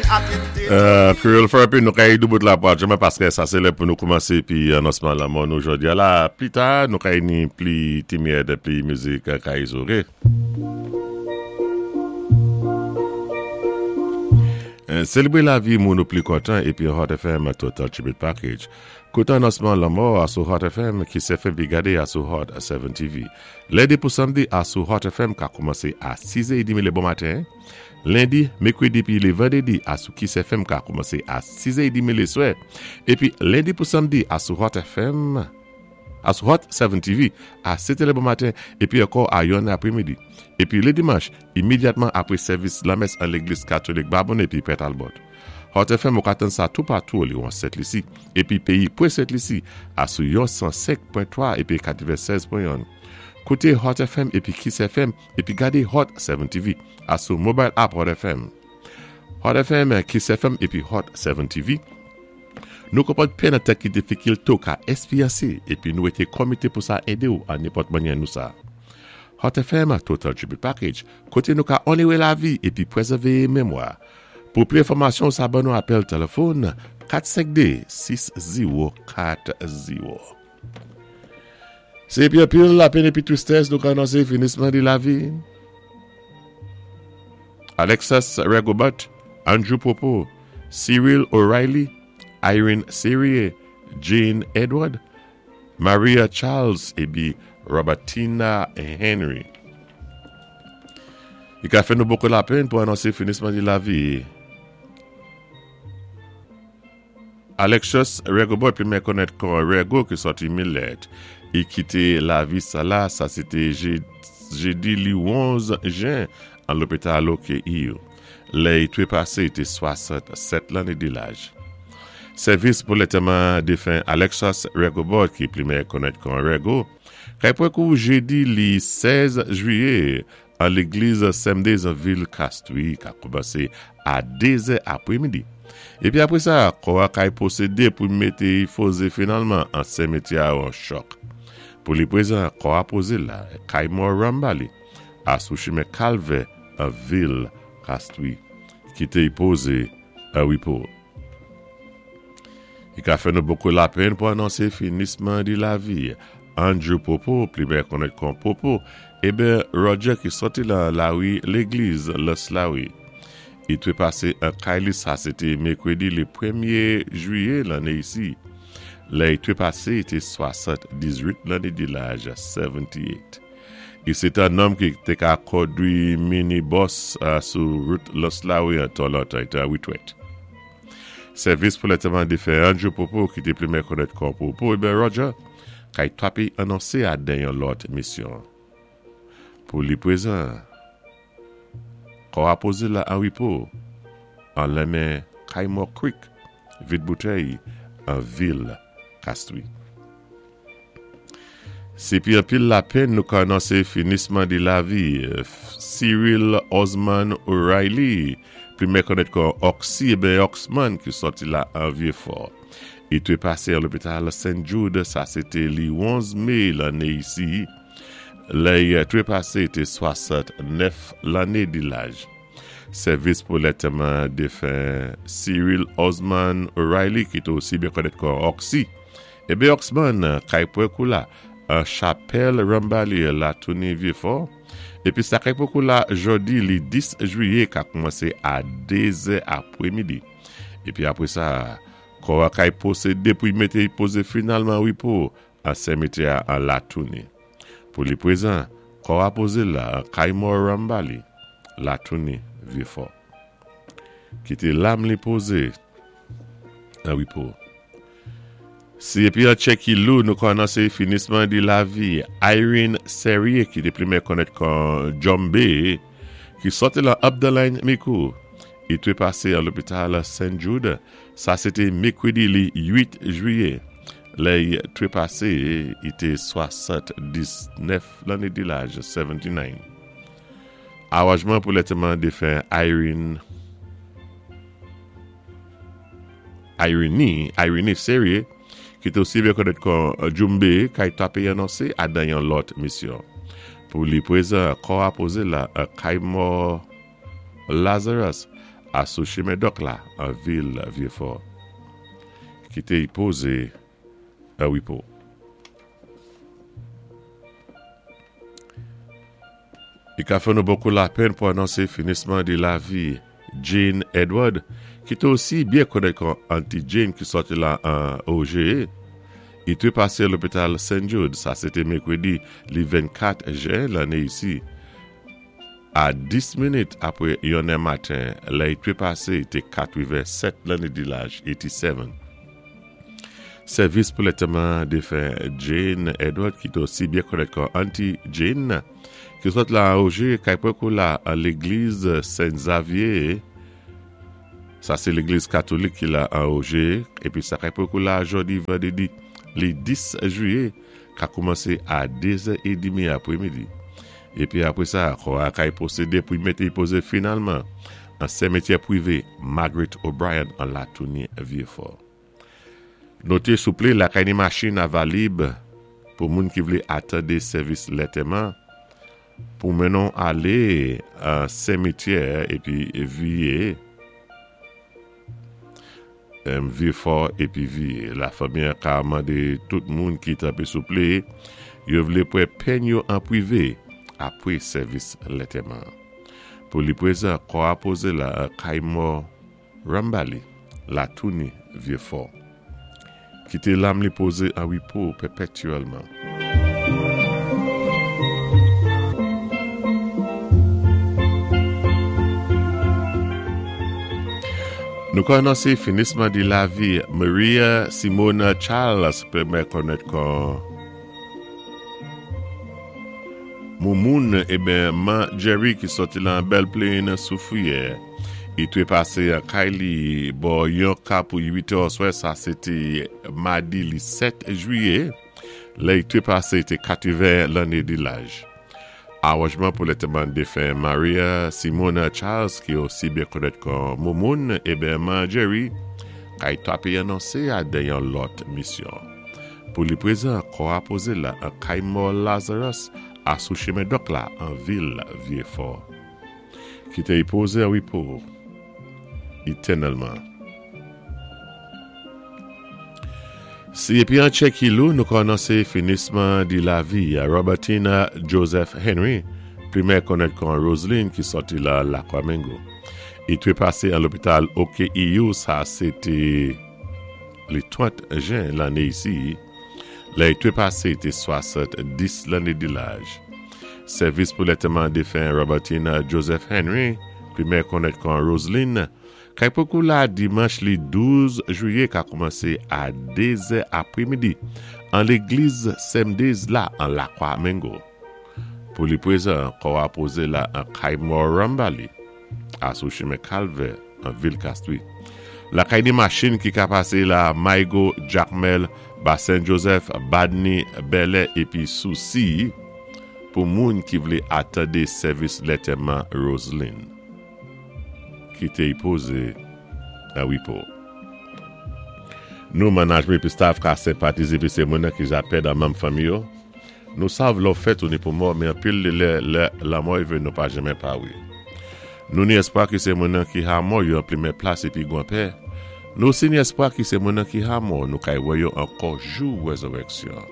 Creole Therapy nou ka yi doubout la pou adjouman paske sa se lè pou nou koumanse pi anonsman lanmò nou jodi a la pli ta nou ka yi ni pli timyèd pli mizik ka yi zore. Selebre lavi moun ou pli kontan epi Hot FM Total Tribute Package. Koute anonsman lanmò a sou Hot FM, Kiss FM pi gade a sou Hot 7 TV. Lendi pou Samdi a sou Hot FM ka koumanse a 6 è edmi le bon maten. Lendi, Mekredi pi le Vandredi a sou Kiss FM ka koumanse a 6 è edmi le swè. Epi Lendi pou Samdi a sou Hot FM a sou Hot 7 TV a 7 è le bon maten epi ankò a 1 apremidi. Epi le Dimanch, imedyatman apre sèvis lamès an legliz katolik Babonne epi Pè Talbot. Hot FM ou ka tann sa toupatou oliwon Sent Lisi epi peyi pre Sent Lisi a sou yon 105 pwen 3 epi 96 pwen 1. Koute Hot FM epi Kiss FM epi gade Hot 7 TV a sou mobile app Hot FM. Hot FM, Kiss FM epi Hot 7 TV Nou konprann pè nan tan ki difikilte ou ka esperyanse epi nou rete komite pou sa ede ou an nenpòt mannyè nou sa. Hot FM Total Tribute Package kote nou ka onere lavi epi prezève memwa. Pou pli enfòmasyon ou sa ban nou apèl telefòn 452 6040. Se epi anpil lapenn epi tristès nou ka anonse finisman de lavi Alexas Regobert, Andrew Popo, Cyril O'Reilly, Irene Serie, Jane Edward, Maria Charles epi Robertina Henry. Li ka fè nou bokou lapenn pou anonse finisman di lavi Alexius Regobert pi mè konèt kon Rego ki sòti Milèt. I kite lavi sa la, sa se te jedi li 11 jen an lopital OKEU. Lè i trepase i te 67 lanne de laj. Sèvis pou lantèman defen Alexius Regobert ki pli mè konèt kon Rego, Kay pwen kou jedi li 16 jwiye an legliz Semde zan vil Kastwi ka koumanse a 2 zè apre midi. Epi apre sa, kò a kay pwosede pou mete y foze finalman an semetyè a an chòk. Pou li prezan, kò a poze la kay mò Rambali a sou chimen Kalvè an vil Kastwi kite y poze an repo. Li ka fè nou bokou lapenn pou anonse finisman di lavi Andrew Popo, pli byen konèt kon Popo, eben Roger ki sòti lan lari legliz Lans Lari. I trepase an kay li sa se te mekredi le premye jwiye lanne isi. Lè i trepase i te 78 lanne di laj 78. I se te an nonm ki te ka kondwi mini bòs sou rout Lans Lari an tan lontan i te an retwèt. Sèvis pou lantèman defen Andrew Popo ki te plimen konèt kon Popo eben Roger kay twapi anonse a den yon lòt misyon. Pou li prezan, kò a poze la an repo an lenmen kay mò Creek vid boutèy an vil Kastri. Se pi anpil lapenn nou ka anonse finisman de lavi Cyril Osman O'Reilly, pi mè konèt kon Oxy eben Oxman ki sòti la an Vyefò. I te pase an lopital St. Jude, sa se te li 11 me lanne isi. Lè i trepase te 69 lanne de laj. Sèvis pou lantèman defen Cyril Osman O'Reilly ki te osi byen konèt kon Oxy Ebe Oxman kay pwen kou la an chapèl Rambali la tounin Vyefò epi sa kay pwen kou la jodi li 10 jwiye ka koumanse a 2 zè apre midi epi apre sa kò a kay pwosede pou y mete y poze finalman repo an sèmetyè a an la tounin pou li prezan kò a poze la an kay mò Rambali la tounin Vyefò kite lam li poze an repo. Si epi an tchè ki lou nou kònanse finisman di lavi Irene Serrier ki te plimen konnèt kon Djombe ki sòti lan Updaline Mikou i trepase an lopital Saint Jude sa se te mekredi li 8 jwiye lè i trepase i te 79 lanne di laj 79 Aranjman pou lèteman defen Irene Irene, Irene Serye, ki te osi byen konèt kon Djumbe, kay tape anonse a dan yon lòt misyon. Pou li prezan, kò a poze la an kay mò Lazarus. A sou chimen Dòk la an vil Vyefò. Kite y poze an repo. I ka fè nou bokou lapenn pou anonse finisman de lavi Jane Edward, ki te osi byen konèt kon Auntie Jane ki sòti la an OGE. I te pase lopital St. Jude, sa se te mekredi li 24 jen lanne isi. A 10 minit apre yonnè maten, lè i trepase, i te 87 lanne di laj, 87. Sèvis pou lètèman defen Jane Edward ki te osi byen konèt kon Auntie Jane, ki sot la an Oje, kay pwen la an legliz Sen Zavye, sa se legliz katolik ki la an Oje, epi sa kay pwen la jodi vandredi li 10 jiye, ka koumanse a 2 zè edmi apremidi. Epi apre sa, kò a kay pwosede pou y mete y poze finalman an sèmetyè pwive Margaret O'Brien an Latouni Vyefò. Note souple lakay ni machin a valib pou moun ki vle atande sèvis lètèman pou mennen w ale an sèmetyè epi viye. M Vieux-Fort epi vi. Lafanmi an ka mande tout moun ki tanpe souple yo vle pwè pen yo an prive apre sèvis lentèman an. Pou li prezan, kò a poze la an kay mò Rambali, Latouni, Vieux-Fort. Kite lam li poze an repo pèpètyèlman. Nou ka anonse finisman di lavi Maria Simona Charles pèmè konnèt kon Moumoun eben man Jerry ki sòti lan Bèl Plain Soufriyè. Li trepase an kay li bò yon ka pou 8 è oswè sa se te madi li 7 jwiye lè li trepase te 80 lanne de laj. Aranjman pou lantèman defen Maria Simona Charles ki osi byen konèt kon Moumoun eben man Jerry kay tape anonse a dan yon lòt misyon. Pou li prezan kò a poze la an kay mò Lazarus a sou chemen dòk la an vil Vyefò. Kite y poze an repo etènèlman. Si epi an Tchekilou nou kònanse finisman di lavi a Robertina Joseph Henry, plimè konnèt kon Roseline ki sòti la Lakwa Mengo. I trepase an lopital OKEU sa se te li 30 jen lanne isi. Lè y trepase te 70 lanne di laj. Sèvis pou lèteman defen Robertina Joseph Henry, plimè konnèt kon Roseline, kay pokou la dimanch li 12 jwiye ka koumanse a 2 zè apremidi an legliz Semdez la an Lakwa Mengo. Pou li prezan, kò a poze la an kay mò Rambali. A sou chimen Kalvè an vil Kastri. Lakay ni machin ki ka pase la Maygo, Jakmèl, Basen Jozèf, Badni, Bèlè epi Sousi pou moun ki vle atande sèvis lètèman Roselin. Kite y poze an repo. Nou manajmen epi staf ka senpatize epi se moun nan ki ja pèd an manm fanmi yo. Nou sav lè w fèt ou ni pou mò men anpil de lè lè lanmò rive nou pa janmen pa wi. Nou ni espwa ki se moun nan ki ha mò yo anplimen plas epi gwan pè. Nou osi ni espwa ki se moun nan ki ha mò nou kay wè yo ankò jou rezirèksyon.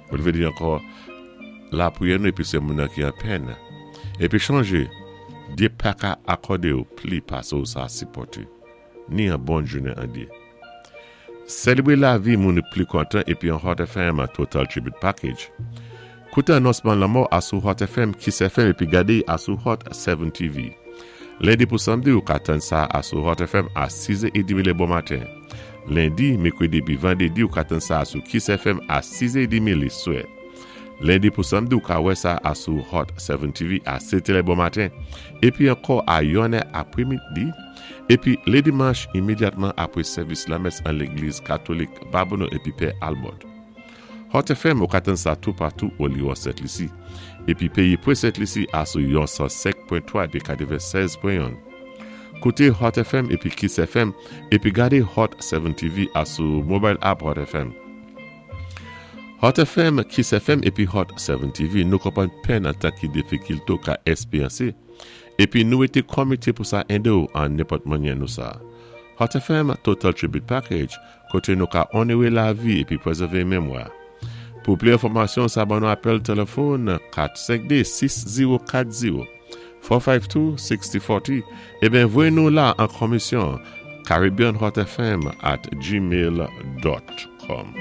Mwen vle di ankò lapriyè nou epi se moun nan ki an pèn. Epi chonje, Dye paka akòde w pli pase w sa sipòte. Ni an bon jounen an Dye. Selebre lavi moun pli kontan epi an Hot FM Total Tribute Package. Koute anonsman lanmò a sou Hot FM, Kiss FM epi gade a sou Hot 7 TV. Lendi pou Samdi ou ka tann sa a sou Hot FM a 6 è edmi le bon maten. Lendi, Mekredi epi Vandredi ou ka tann sa a sou Kiss FM a 6 è edmi le swè. Lendi pou Samdi ou ka wè sa a sou Hot 7 TV a 7 è le bon maten epi ankò a 1 è apremidi. Epi le dimanch imedyatman apre sèvis lamès an legliz katolik Babonneau epi Pè Albert. Hot FM ou ka tann sa toupatou oliwò Sent Lisi. Epi peyi pre Sent Lisi a sou yon 105 pwen 3 epi 96 pwen 1. Koute Hot FM epi Kiss FM epi gade Hot 7 TV a sou mobile app Hot FM. Hot FM, Kiss FM epi Hot 7 TV nou konprann pèn antan ki difikilte w ka esperyanse. Épi nou été konmité pou sa édé-w an nenpòt mannyè nou sa. Hot FM Total Tribute Package, koté nou ka onoré lavi épi pwézèvé memwa. Pou pli enfòmasyon sa ban nou apèl tèlèfòn 452 6040, 452 6040, eben voyé nou la an konmisyon caribbeanhotfm at gmail dot com.